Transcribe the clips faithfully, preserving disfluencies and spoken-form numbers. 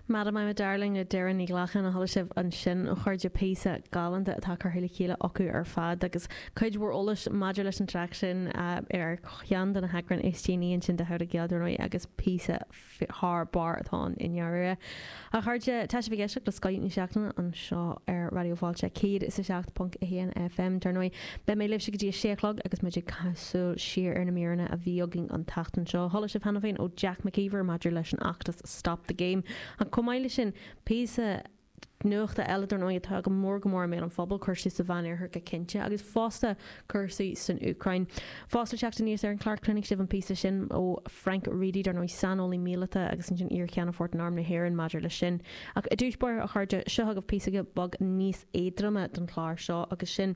Madam I'm a Darling le Doireann Ní Ghlacáin a chuala sibh ansin a chairde píosa galánta atá curtha le chéile acu ar fad agus cuid mhór eolais maidir leis an traic sin ar cheann de na heagráin is déanaí ansin de How to Gael dar ndóigh agus píosa thar barr atá ann i ndáiríre. A chairde tá sibh ag éisteacht le Scoth na Seachtaine anseo ar Raidió Fáilte céad is a seacht ponc a haon FM dar ndóigh beidh mé libhse go dtí a sé a chlog agus muid ag súil siar ar na míreanna a bhí againn an tseachtain seo. Chuala sibh cheana féin ó Jack McKeever maidir leis an fheachtas Stop the Game. Ach chomh maith leis sin píosa nuachta eile dar ndóigh atá go mór go mór i mbéal an phobail cúrsaí sa Mheánoirthear go cinnte agus fosta cúrsaí san Úcráin. Fosta teacht aníos ar an chlár cluinfidh sibh an píosa sin ó Frank Reidy dar ndóigh saineolaí míleata agus ansin iar-cheannfort in Arm na hÉireann maidir leis sin. Ach i dtús báire a chairde seo agaibh píosa beag níos éadroime don chlár seo agus sin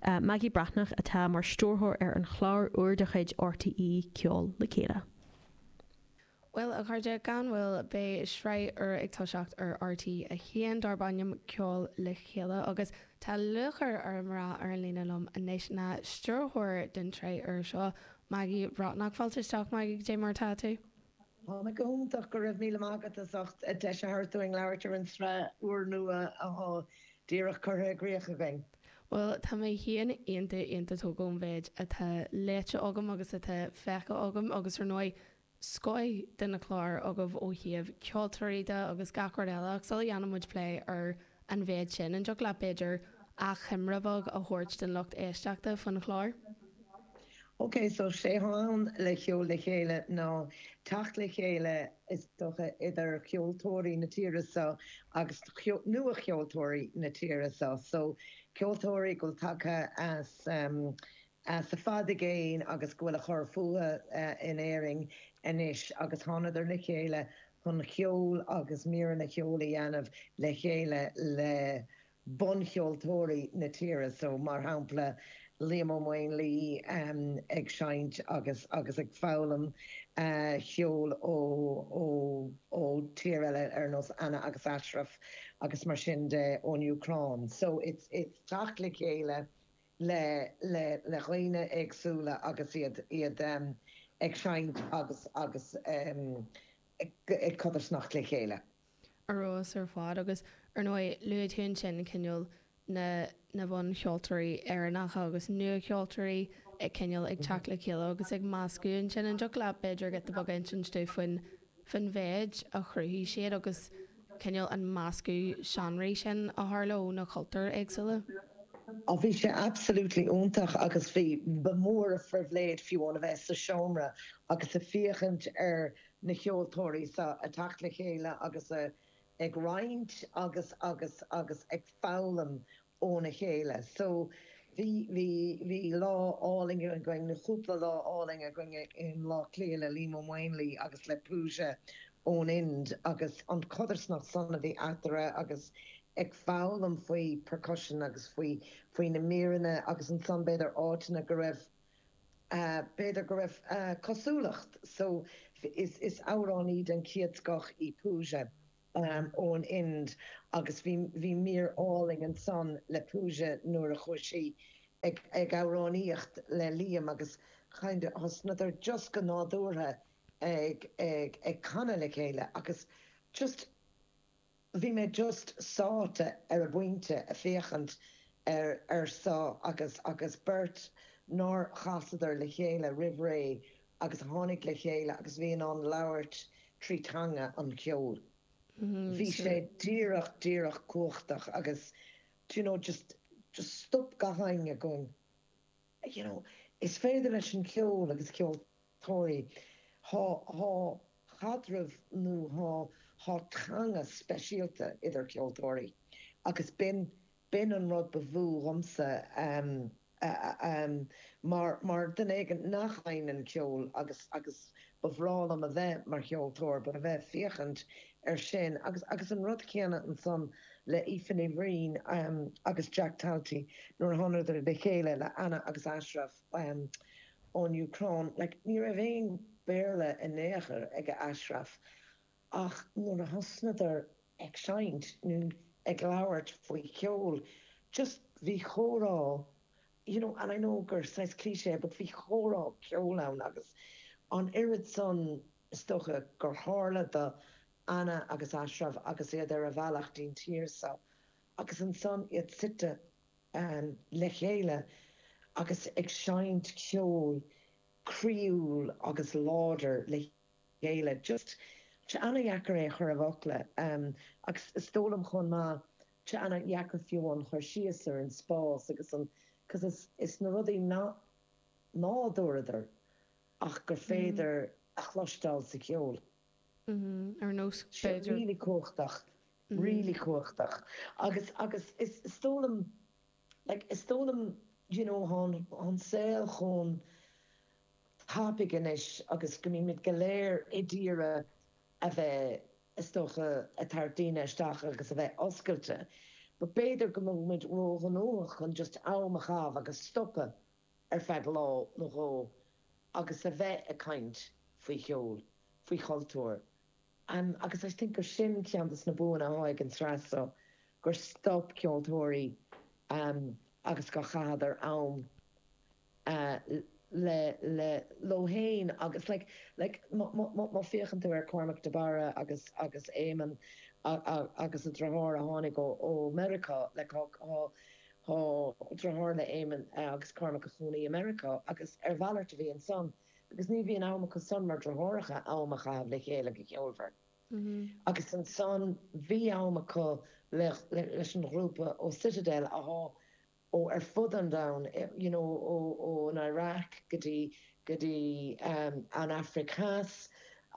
uh, Maggie Breathnach atá mar stiúrthóir ar an chlár úr de chuid RTÉ Ceol le Chéile. Well a chairde gan mhoill beidh sraith úr ag toiseacht ar RTÉ a haon darb ainm Ceol le Chéile agus tá lúcháir orm rá ar an líne liom anois ná stiúrthóir den tsraith úr seo Maggie Breathnach fáilte isteach Maggie cad é mar atá tú. Tá mé go hiontach go raibh míle maith agat as ucht deis a thabhairt dúinn labhairt ar an tsraith úrnua atá díreach curtha i gcrích againn. Well tá mé féin iontach iontach tógtha ón mhéid atá léite agam agus atá feicthe agam agus ar ndóigh scoth de na cláir agaibh ó thaobh ceoltóirí de agus gach rud eile ach sula dhéanann muid plé ar an mhéid sin an dtiocfadh leat b'fhéidir achoimre bheag a thabhairt den lucht éisteachta faoin chlár. Ok, so sé atá ann le Ceol le Chéile ná teacht le chéile is dócha idir ceoltóirí na tíre seo agus nua-cheoltóirí na tíre seo. So ceoltóirí go bhfuil tagtha as um, as i bhfad i gcéin agus go bhfuil ag cur fúthu uh, in Éirinn anois agus thánadar le chéile chun ceol agus míreanna ceoil a dhéanamh le chéile le buncheoltóirí na tíre so mar shampla Liam Ó Maonlaí um, ag seinnt agus agus ag foghlaim uh, ceol ó ó ó tír eile ar nós Anna agus Ashraf agus mar sin de ón Úcráin. So it's it's teacht le chéile le le le dhaoine éagsúla agus iad iad um, ag seinnt agus agus um, ag, ag codarsnacht le chéile. Arós ar fad agus ar ndóigh luaigh tú sin cineál na na buncheoltóirí Éireannacha agus nua-cheoltóirí ag cineál ag teacht le chéile agus ag meascadh ansin an dtiocfadh leat b'fhéidir giota beag a insint dúinn faoin faoin mhéid a chruthaigh siad agus cineál an meascadh seánraí sin a tharla ó na cultúir éagsúla. Á bhí sé absolutely iontach agus bhí ba mór an phribhléid fiú a bheith sa seomra agus ag féachaint ar na ceoltóirí seo ag teacht le chéile agus a ag roinnt agus agus agus ag foghlaim óna chéile. So bhí bhí bhí lá álainn againn na cúpla lá álainn againn i mBaile Átha Cliath le Liam Ó Maonlaí agus le Pooja ón Ind agus an codarsnacht san a bhí eatarthu agus ag foghlaim faoi percussion agus faoi faoi na míreanna agus ansan b'fhéidir áiteanna go raibh uh, b'fhéidir go raibh uh, cosúlacht so is is amhránaí den chéad scoth í Pooja um, ón Ind agus bhí bhí mír álainn ansan le Pooja nuair a chuaigh sí ag ag amhránaíocht le Liam agus kind of thosnadar just go nádúrtha ag ag ag canadh le chéile agus just bhí mé just sáite ar an bpointe ag féachaint ar ar seo agus agus beirt nár chasadar le chéile roimh ré agus tháinig le chéile agus bhí an labhairt trí teanga an cheoil. Bhí sé díreach díreach cumhachtach agus you know just just stop gach éinne going you know is féidir leis an ceol agus ceoltóirí tá tá caidreamh nó tá tá teanga speisialta idir ceoltóirí agus b'in b'in an rud ba mhó dhomsa um, uh, um, mar mar duine éigin nach seinneann ceol agus agus ba bhreá liom a bheith mar cheoltóir, ba a bheith féachaint ar sin agus agus an rud céanna ansan le Aoife Ní Bhriain um, agus Jack Talty nuair a thánadar le chéile le Anna agus Ashraf um, ón Úcráin, like, ní raibh aon Béarla in aon chor ag Ashraf ach nuair a thosnadar ag seinnt nó ag labhairt faoi cheol just bhí chomhrá you know and I know gur saghas cliché but bhí chomhrá ceoil ann agus an oiread san is dócha gur tharla do Anna agus Ashraf agus iad ar a bhealach dtí'n tír so agus ansan iad suite um, le chéile agus ag seinnt ceol croíúil agus láidir le chéile. Just tá an-deacair é chur i bhfocla um, agus is dóigh liom chomh maith tá an-deacair fiú an chur síos ar an spás agus an cos is, is na rudaí ná nádúrtha ach gur féidir a chloisteáil sa cheol. Ar nós Sé b'fhéidir really cumhachtach, really cumhachtach. Agus agus is is dóigh liom like, is dóigh liom you know, an, an saol chomh tapaidh anois agus go mbímid go léir ag iarraidh a bheith is dócha ag tarraingt daoine isteach agus a bheith oscailte. But b'fhéidir go mbímid róghnóthach chun just am a chaitheamh agus stopadh ar feadh lá nó dhó agus a bheith ag caint faoi cheol, faoi chultúr. Um, agus I think gur sin ceann des na buanna atá ag an tsraith so gur stop ceoltóirí um, agus go chaitheadar am uh, le le leo féin agus like like má féachann tú ar Cormac de Barra agus agus Éamonn agus a dheartháir a tháinig ó ó Meiriceá le tá deartháir le Éamonn agus Cormac ina chónaí i Meiriceá agus ar mhalairt a bhí ansan agus ní bhíonn am acu san mar deartháireacha am a chaitheamh le chéile go ceolmhar. Agus ansan bhí am acu leis an ghrúpa ó Citadel athá ó ar fud an domhain you know, ó, ó an Iraq go dtí go dtí um, an Afraic Theas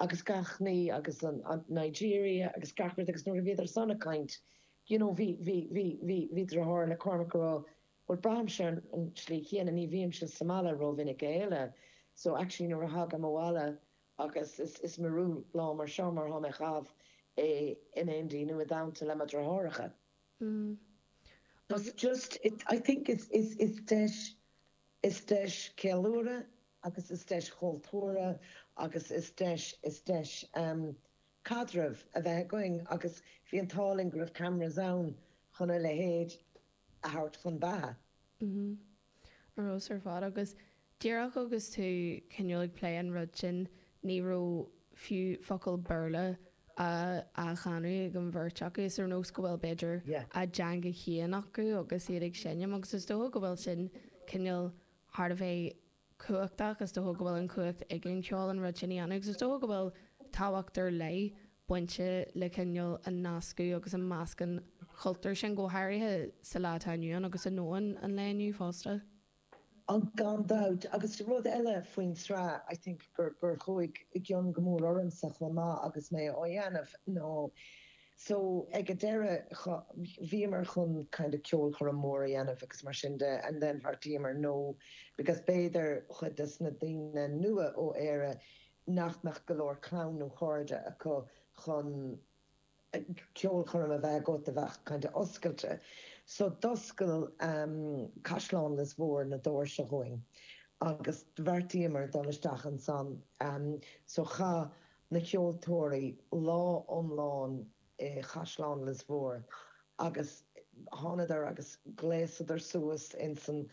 agus gach ní agus an, an Nigeria agus gach rud agus nuair a bhíodar san ag caint you know, bhí bhí bhí bhí bhí deartháir le Cormac rá well braithimse an, an tslí chéanna ní bhímse sa mbaile rómhinic eile so actually nuair a thagaim abhaile agus is, is mearú lá mar seo mar tá mé á chaitheamh é in éindí nó i dteannta le mo dheartháireacha. Mm. It's just it, I think it's is is deis is deis ceiliúradh agus is deis chultúrtha agus is deis is deis um, caidreamh a bheith againn agus bhí an t-ádh linn go raibh cameras ann chun a leithéid a thabhairt chun beatha. Mm Rós ar fad agus díreach agus tú cineál ag plé an rud sin ní raibh fiú focal Béarla a a chanadh ag an bheirt acu is ar nós go bhfuil b'fhéidir Yeah. a dteanga féin acu agus iad ag seinm agus is dócha go bhfuil sin cineál thar a bheith cumhachtach is dócha go bhfuil an chumhacht ag an cheol an rud sin a dhéanamh agus is dócha go bhfuil tábhacht ar leith bainte le cineál an nascadh agus an meascán cultúr sin go háirithe sa lá atá inniu ann agus i ndomhan an lae inniu fosta. An gan dabht agus rud eile faoin tsraith I think gur gur chuaigh i gcion go mór ormsa chomh maith agus mé á dhéanamh nó so ag an deireadh bhíomar chun kind of ceolchoirm mór a dhéanamh agus mar sin de and then bheartaíomar no because b'fhéidir chuid des na daoine nua ó Éire nach mbeadh go leor clann nó cairde acu chun ceolchoirm a bheith agat a bheith kind of oscailte. So d'oscail um, Caisleán Lios Mhór na doirse dhúinn agus bheartaíomar dul isteach ansan um, so chaith na ceoltóirí lá iomlán i Caisleán Lios Mhór agus thánadar agus ghléasadar suas in san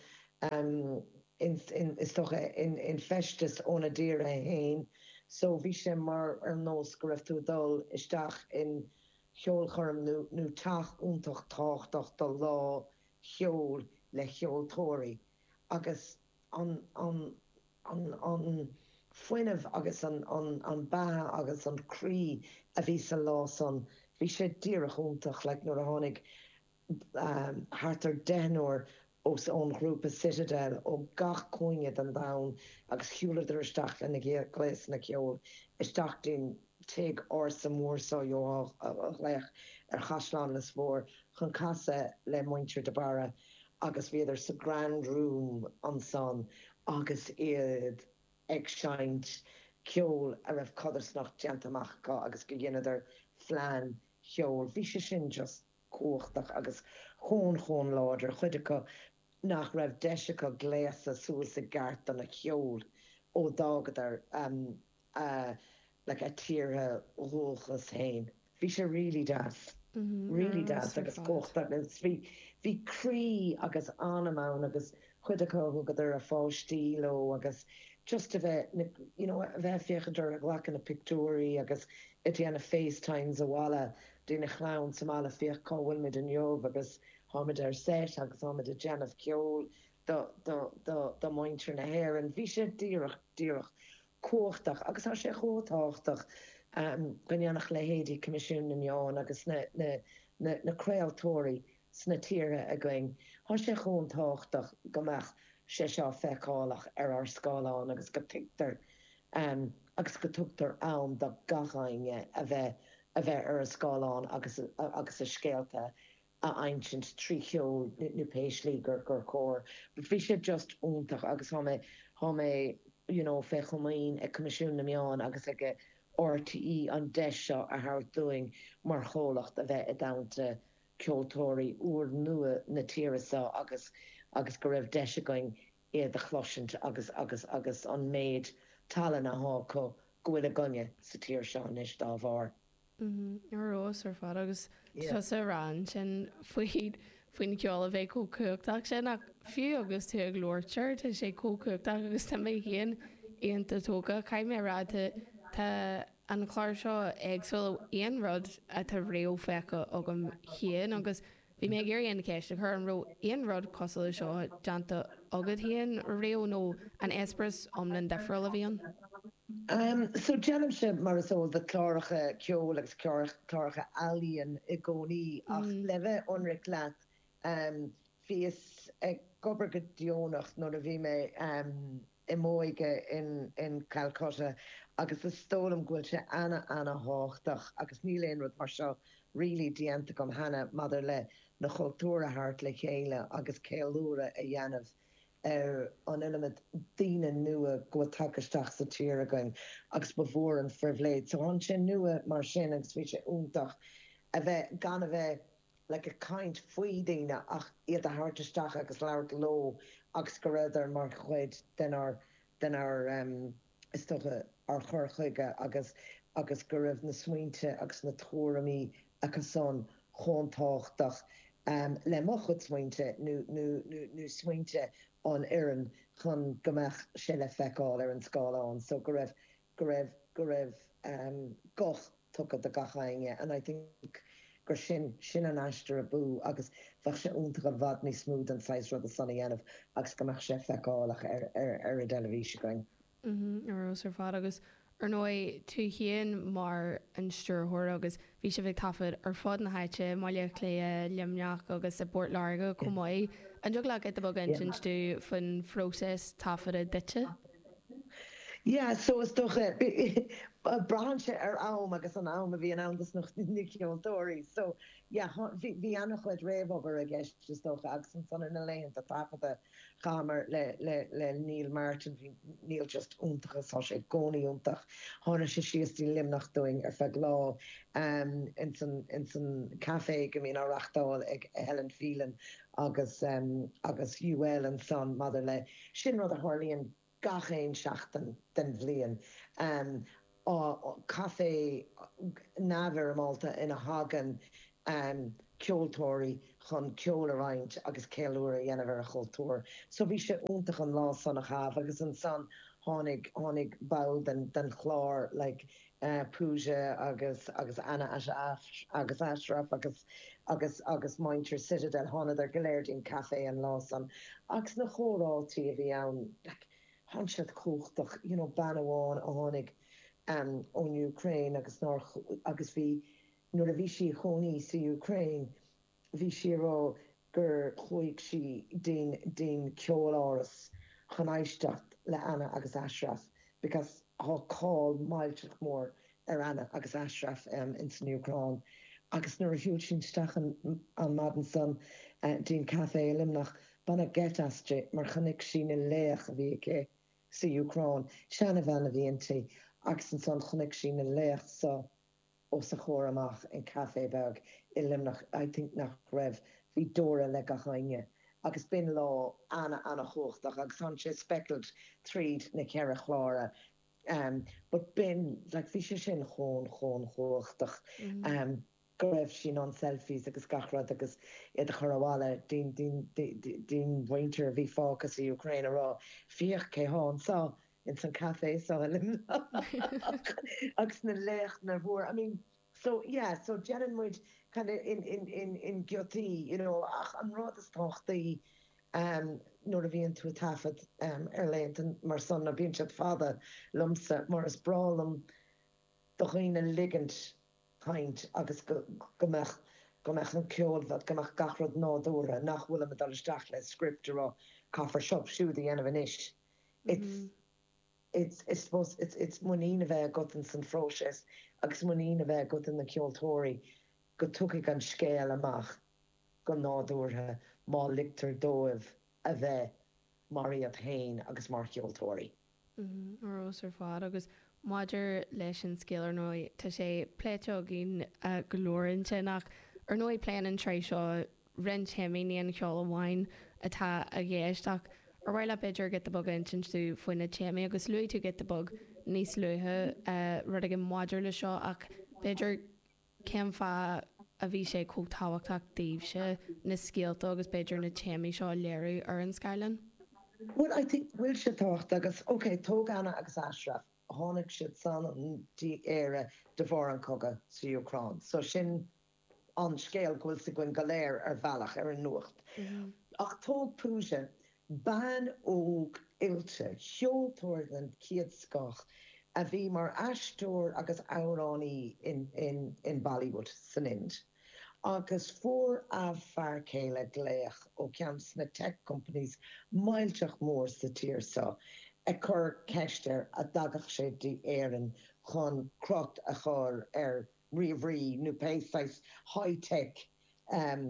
um, in, in, is dócha in, in feisteas óna dtír féin so bhí sé mar ar nós go raibh tú dul isteach in cheolchoirm nó nó teach iontach tábhachtach do lá cheoil le ceoltóirí agus an an an an fuinneamh agus an an an beatha agus an croí a bhí sa lá san bhí sé díreach iontach le nuair a tháinig um, thart ar deichniúr os ón ghrúpa Citadel ó gach cúinne den domhan agus shiúladar isteach lena gléasanna ceoil isteach dtí'n tigh ársa mór so a ghlaoch ar Chaisleán Lios Mhór chun casadh le muintir de Barra agus bhíodar sa Grand Room ansan agus iad ag seinnt ceol a raibh codarsnacht déanta amach acu agus go ndéanadar phlean cheoil. Bhí sé sin just cumhachtach agus chomh chomh láidir chuid acu nach raibh deis acu gléasadh suas i gceart don cheol ó d'fhágadar um, uh, like a dtíortha dúchais féin. Bhí sé really deas. Really deas agus cumhachtach agus bhí bhí croí agus anam ann agus chuid acu thugadar a pháistí leo agus just a bheith you know, a bheith féachaint ar a ghlacadh na pictiúirí agus ag déanamh FaceTimes abhaile dtína chlann sa mbaile féach cá bhfuil muid inniu agus táimid ar set agus táimid ag déanamh ceoil do do do do mhuintir na hÉireann. Bhí sé díreach díreach cumhachtach agus tá sé chomh tábhachtach go ndéanfadh leithéidí Coimisiún na Meán agus na na na na craoltóirí sna tíortha againn, tá sé chomh tábhachtach go mbeadh sé seo feiceálach ar ár scáileán agus go dtuigtear agus go dtugtar am do gach éinne a bheith a bheith ar an scáileán agus agus a scéalta a insint trí cheol nó pé slí gur gur chóir. But bhí sé just iontach agus tá mé tá mé you know fé chomaoin ag Coimisiún na Meán agus ag RTÉ an deis seo a thabhairt dúinn mar chomhlacht a bheith i dteannta ceoltóirí úrnua na tíre seo agus agus go raibh deis againn iad a chloisint agus agus agus an méid tallann atá acu go bhfuil againne sa tír seo anois dá bharr. Ar fheabhas ar fad agus tusa ag rá ansin faoi faoin cheol a bheith chomh cumhachtach sin ach fiú agus tú ag labhairt air tá sé chomh cumhachtach agus tá mé féin iontach tógtha. Caithfidh mé a rá tá tá an clár seo éagsúil ó aon rud atá riamh feicthe agam féin agus bhí mé ag iarraidh an cheist a chur an raibh aon rud cosúil leis seo déanta agat féin riamh nó an eispéireas iomlán difriúil a bhí ann? So déanaimse mar is eol duit cláracha ceoil agus cláracha ealaíon i gcónaí ach le bheith ionraic leat bhíos ag obair go deonach nuair a bhí mé i m'óige in in Calcutta agus is dóigh liom go bhfuil sé ana ana thábhachtach agus níl aon rud mar seo really déanta agam cheana maidir le na cultúir a thabhairt le chéile agus ceiliúradh a dhéanamh ar an iliomad daoine nua go bhfuil tagtha isteach sa tír againn agus ba mhór an phribhléid. So tháinig sé nua mar sin agus bhí sé iontach a bheith gan a bheith like ag caint faoi daoine ach iad a thabhairt isteach agus labhairt leo agus go rabhadar mar chuid denár denár um, is dócha ár chur chuige agus agus go raibh na smaointe agus na tuairimí acusan chomh tábhachtach um, le mo chuid smaointe nó nó nó nó smaointe an fhoireann chun go mbeadh sé le feiceáil ar an scáileán so go raibh go raibh go raibh um, guth tugtha do gach éinne and I think gur sin sin an aistear ab fhiú agus bheadh sé iontach i bhfad níos mó den saghas ruda san a dhéanamh agus go mbeadh sé feiceálach ar ar ar an dteilifís againn. Ar fheabhas ar fad agus ar ndóigh tú féin mar an stiúrthóir agus bhí sibh ag taifead ar fud na háite, Baile Átha Cliath, Luimneach agus i bPort Láirge chomh maith. An dtig leat giota beag a insint dúinn faoin phróiseas taifeadta duitse? Yeah, so is dócha braitheann sé ar am agus an am a bhíonn ann dos na ceoltóirí. So yeah, bhí bhí an-chuid réamhobair i gceist is dócha agus ansan ar na laethanta taifeadta chaitheamar le le le Neil Martin, bhí Neil just iontach agus tá sé i gcónaí iontach. Tháinig sé síos dtí Luimneach dúinn ar feadh lá um, ins an ins an café go mbíonn á reáchtáil ag Helen Phelan agus um, agus UL ansan maidir le sin rud a tharlaíonn gach aon seachtain den bhliain. Um, caife neamhfhoirmeálta ina thagann um, ceoltóirí chun ceol a roinnt agus ceiliúradh a dhéanamh ar a chultúr. So bhí sé iontach an lá san a chaitheamh agus ansan tháinig tháinig ball den den chlár like uh, Pooja agus agus Anna agus Ashraf agus agus agus muintir Citadel thánadar go léir dtí'n café an lá san. Agus na comhráití a bhí ann like, tháinig siad cumhachtach you know, bean amháin a tháinig um, ón Ukraine agus nár agus bhí nuair a bhí sí ina cónaí sa Ukraine bhí sí rá gur chuaigh sí dtí'n dtí'n ceoláras chun éisteacht le Anna agus Ashraf because tá cáil millteach mór ar Anna agus Ashraf um, in san Úcráin. Agus nuair a shiúil sí isteach an, an maidin san uh, dtí'n café i Luimneach baineadh geit aisti mar chonaic sí na laoch a bhí aici sa Úcráin, seanbhean a bhí inti agus ansan chonaic sí na laoch so os a chomhair amach in café beag i Luimneach I think nach raibh bhí deora le gach éinne. agus b'in lá ana ana chumhachtach agus tá sé speckled tríd na ceithre chlára. Um, but b'in like, bhí sé sin chomh chomh chumhachtach mm. um, go raibh sí an selfies agus gach rud agus iad a chur abhaile dtí'n mhuintir a bhí fágtha sa Ukraine a rá féach cé há so ins an café so i Luimneach agus na laochra mhór I mean so yeah so déanann muid kind of in in in in giotaí you know ach an rud is tábhachtaí um, nuair a bhíonn tú taifead um, ar laethanta mar san na bíonn siad fada liomsa mar is breá liom do dhaoine ligint caint agus go go mbeadh go mbeadh an ceol bheith go mbeadh gach rud nádúrtha nach bhfuil mé dul isteach le script rá caithfear seo siúd a dhéanamh anois. It's it's it's supposed it's it's muinín a bheith agat in san phróiseas agus muinín a bheith agat in na ceoltóirí go dtiocfaidh an scéal amach go nádúrtha má ligtear dóibh a bheith mar iad féin agus mar cheoltóirí. Rós ar fad agus maidir leis an scéal ar ndóigh tá sé pléite againn go leor ansin ach ar ndóigh pléann an tsraith seo roinnt téamaí ní an ceol amháin atá i gceist ach ar mhaith leat b'fhéidir giota beag a insint dúinn faoi na téamaí agus luaigh tú giota beag níos luaithe rud éigin maidir le seo ach b'fhéidir cén fáth a bhí sé chomh tábhachtach daoibhse na scéalta agus b'fhéidir na téamaí seo a léiriú ar an scáileán? Well I think bhfuil sé tábhachtach agus ok tóg Anna agus Ashraf tháinig siad san dtí Éire de bharr an cogadh sa Úcráin. So sin an scéal go bhfuil a fhios againn go léir ar bhealach ar an nuacht. Ach tóg Pooja, bean óg oilte, ceoltóir den chéad scoth a bhí mar aisteoir agus amhránaí in, in, in Bollywood san Ind. Agus fuair a fear céile glaoch ó cheann sna tech companies millteach mór sa tír seo ag cur ceist air an dtagadh sé dtí Éirinn chun crot a chur ar ríomhairí nó pé saghas high-tech um,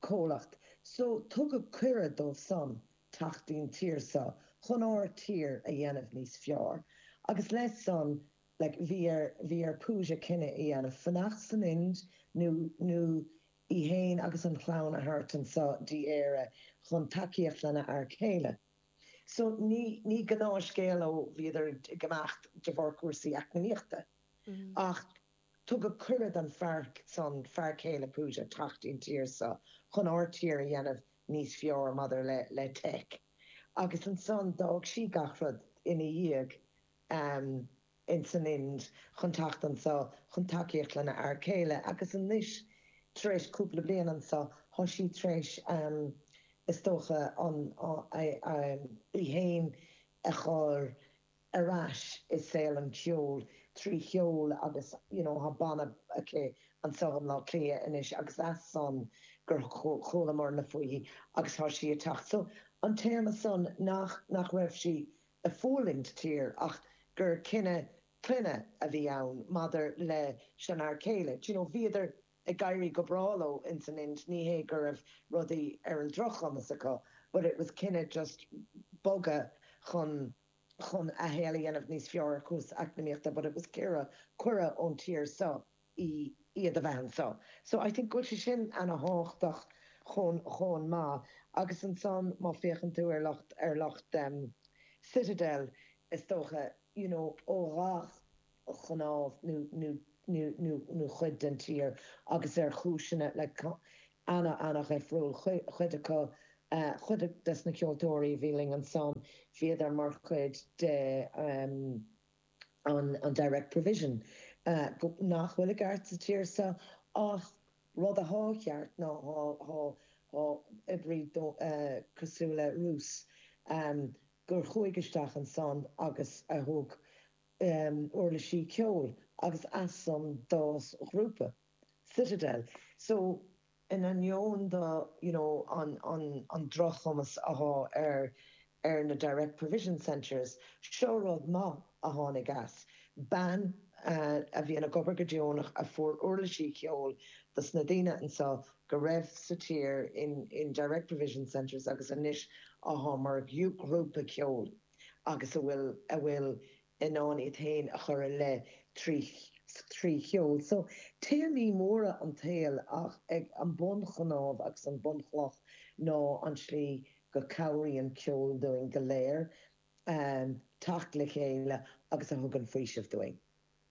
comhlacht. So tugadh cuireadh dóibh san teacht dtí'n tír seo chun ár tír a dhéanamh níos fearr. Agus leis san like, bhí ar bhí ar Pooja cinneadh a dhéanamh fanacht san Ind nó nó í héin agus an chlann a thabhairt anseo dtí Éire chun tacaíocht lena fhear céile. So ní ní gnáthscéal ó bhíodar ag imeacht de bharr cúrsaí eacnamaíochta. Ach tugadh cuireadh don fear san fear céile Pooja teacht dtí'n tír seo chun ár tír a dhéanamh níos fearr maidir le le tech. Agus ansan d'fhág sí gach rud ina dhiaidh um, in san Ind chun teacht anseo chun tacaíocht lena fhear céile agus anois tar éis cúpla bliain anseo tá sí tar éis um, is dócha an í héin a chur ar ais i saol an cheoil trí cheol agus you know, tá banna aici anseo i mBaile Átha Cliath anois agus as san gur chualamar faoi agus tá sí ag teacht. So an téama san nach nach raibh sí ag fulaingt tír ach gur cinneadh clainne a bhí ann maidir leis an fhear céile. You know, bhíodar ag éirí go breá leo in san Ind ní hé go raibh rudaí ar an drochchumas acu, but it was cinneadh just bogadh chun chun a shaol a dhéanamh níos fearr cúrsaí eacnamaíochta, but it was cuireadh cuireadh ón tír seo í iad a bheith anseo. So I think go bhfuil sé sin an-tábhachtach chun chun maith agus ansan má féachann tú ar lucht ar lucht um, Citadel is dócha you know, ó gach chnámh nó nó nó nó nó chuid den tír agus ar chúiseanna le ana ana-dhifriúil chuid acu uh, chuid des na ceoltóirí bhí linn ansan bhíodar mar chuid de um, an, an direct provision uh, go, nach bhfuil i gceart sa tír seo ach rud atá ceart ná tá tá oibrí uh, cosúil le Rús um, gur chuaigh isteach ansan agus a thug um, uirlisí ceoil agus as san d'fhás grúpa Citadel. So in ainneoin do you know, an, an, an drochchumas atá ar ar na direct provision centres, seo rud maith a tháinig as. Bean uh, a bhí ag obair go deonach a fuair uirlisí ceoil dos na daoine anseo go raibh sa tír in, in direct provision centres agus anois atá mar grúpa ceoil agus a bhfuil a bhfuil in ann iad féin a chur i leith trí trí cheol. So téamaí móra an tsaoil ach ag an bunchnámh agus an bunchloch ná an slí go cabhraíonn ceol dúinn go léir um, teacht le chéile agus a thugann faoiseamh dúinn.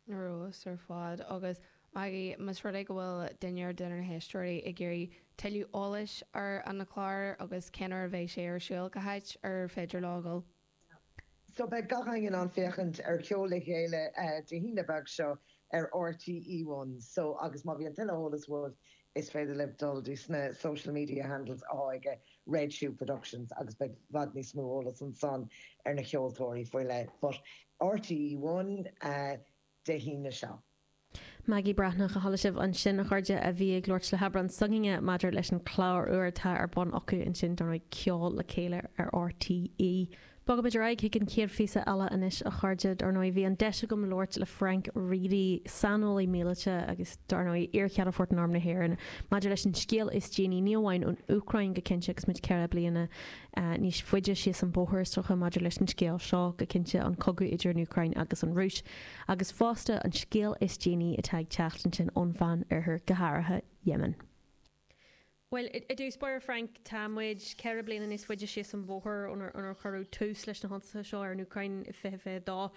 Rós ar fad agus Maggie más rud é go bhfuil duine ar duine na héisteoirí ag iarraidh tuilleadh eolais ar an chlár agus cén uair a bheidh sé ar siúl cá háit ar féidir leo dul. So beidh gach éinne in ann féachaint ar Ceol le Chéile Dé hAoine beag seo ar RTÉ One. So agus má bhíonn tuilleadh eolas uaibh is féidir libh dul dtí sna social media handles atá aige Red Shoe Productions agus beidh i bhfad níos mó eolas ansan ar na ceoltóirí faoi leith. But RTÉ One Dé hAoine seo. Maggie Breathnach a chuala sibh ansin a chairde a bhí ag labhairt le hAibreán s'againne maidir leis an chlár úr atá ar bun acu ansin dar ndóigh Ceol le Chéile ar RTÉ. Bogaimid ar aghaidh chuig an chéad phíosa eile anois a chairde. Dar ndóigh bhí an deis agam labhairt le Frank Reidy, saineolaí míleata agus dar ndóigh iar-cheannfort in Arm na hÉireann maidir leis an scéal is déanaí ní amháin ón Úcráin go cinnte agus muid ceithre bliana níos faide síos an bóthar is dócha maidir leis an scéal seo go cinnte an cogadh idir an Úcráin agus an Rúis agus fosta an scéal is déanaí atá ag teacht ansin ón Mheánoirthear go háirithe Yemen. Bhuel, i dtús báire Frank, tá muid ceithre bliana níos faide síos an bóthar ónar cuireadh tús leis na hionsaithe seo ar an Úcráin i fiche fiche dó.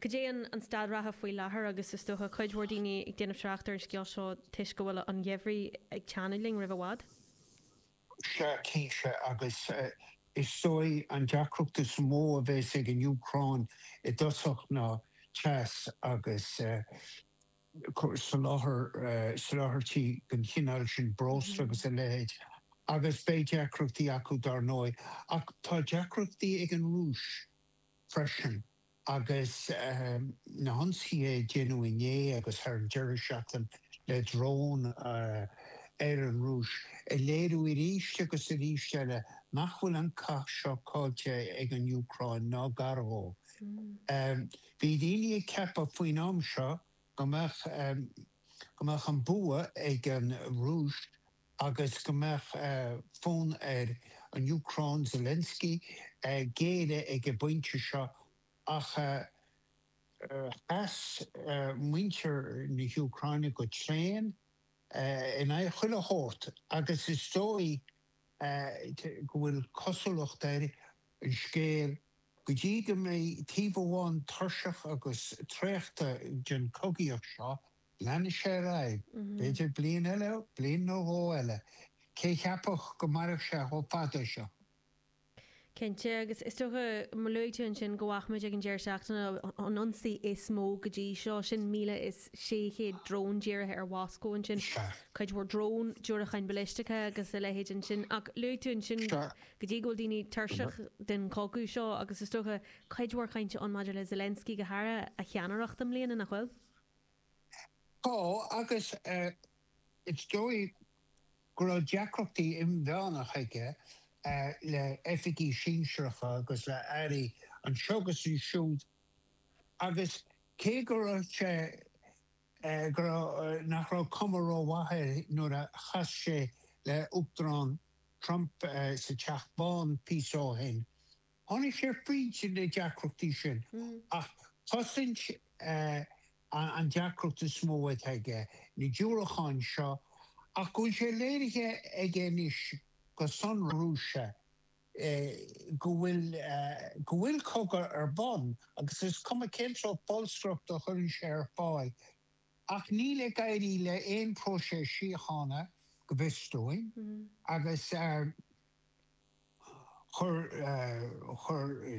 Cad é an an staid reatha faoi láthair agus is dócha cuid mhór daoine ag déanamh trácht ar an scéal seo toisc go bhfuil an geimhreadh ag teannadh linn roimh i bhfad? Sea, cinnte, agus is dóigh an deacracht is mó a bheas ag an Úcráin i dtosach ná teas agus soláthar, soláthairtí den chineál sin, breosla agus a leithéid, agus beidh deacrachtaí acu dar ndóigh. Ach tá deacrachtaí ag an Rúis freisin agus na hionsaithe a déanadh inné agus thar an deireadh seachtaine le dróin ar an Rúis ag léiriú arís agus arís eile nach bhfuil an cath seo caillte ag an Úcráin ná gar dó. Bhí daoine ag ceapadh faoin am seo go mbeadh go mbeadh an bua ag an Rúis agus go mbeadh fonn ar an Úcráin, Zelensky, géilleadh ag an bpointe seo ach sheas muintir na hÚcráine go tréan in aghaidh chuile shórt agus is dóigh go bhfuil cosúlacht ar an scéal go dtí go mbeidh taobh amháin tuirseach agus traochta den chogaíocht seo, leanfaidh sé ar aghaidh, b'fhéidir bliain eile, bliain nó dhó eile. Cé cheapfadh go mairfeadh sé chomh fada seo? Cinnte, agus is dócha, mar luaigh tú ansin, go bhfaca muid ag an deireadh seachtaine an ionsaí is mó go dtí seo, sin míle is sé chéad drón dírithe ar Mhoscó ansin, cuid mhór drón, diúracáin ballisteacha agus a leithéid ansin. Ach luaigh tú ansin go dtí go bhfuil daoine tuirseach den chogadh seo agus is dócha cuid mhór cainte ann maidir le Zelensky go háirithe, a cheannaireacht i mbliana, nach bhfuil? Tá, agus is dóigh go raibh deacrachtaí inmheánach aige le oifigigh sinsearacha agus le airí anseo agus ansiúd agus cé go raibh sé go raibh nach raibh cuma rómhaith air nuair a chas sé le Uachtarán Trump sa Teach Bán píosa ó shin, Tháinig sé fríd na deacrachtaí sin, ach cosaint an deacracht is mó atá aige, na diúracáin seo, ach go bhfuil sé léirithe aige anois go sonrath Rúise go bhfuil go bhfuil cogadh ar bun agus is cuma cén sórt bolscaireachta a chuireann sé ar fáil. Ach níl ag éirí le aon próiseas síochána, go bhfios dúinn, agus chuir chuir